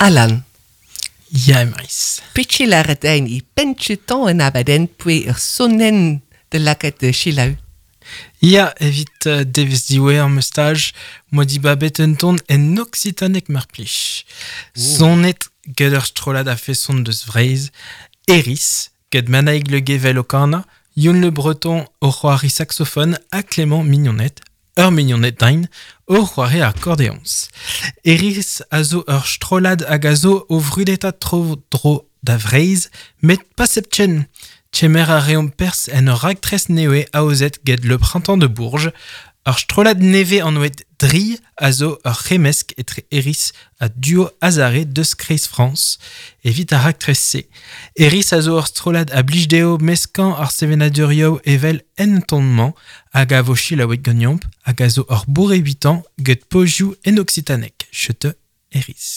Alan. Ya, Emrys. Petra lâret din e penn-kentañ an abadenn poe ur sonenn da lakaat da selaou. Ya, evit devezh diwezhañ ma staj, 'moa dibabet un ton en oksitaneg mar plij. Sonet get ur strollad a-feson deus Vreizh, Eris, get Manaig Le Guével o kanañ, Youn Le Breton o c'hoari saksofon ha Clément Mignonnet, ur mignoned din, o c'hoari akordeoñs. Eris a zo ur strollad hag a zo o vrudetañ tro-dro da Vreizh, met pas hepken. Kemer a reomp perzh en ur raktres nevez aozet get Le Printemps de Bourges, ur strollad nevez anvet Dri a zo ur c'hemmesk etre Eris ha Duo Azare deus Kreiz Frañs evit ar raktres-se. Eris a zo ur strollad a blij dezho meskañ ar sevenadurioù evel en ton-mañ hag a vo selaouet ganeomp hag a zo ur bourrevitañ get pozioù en oksitaneg. Chete Eris.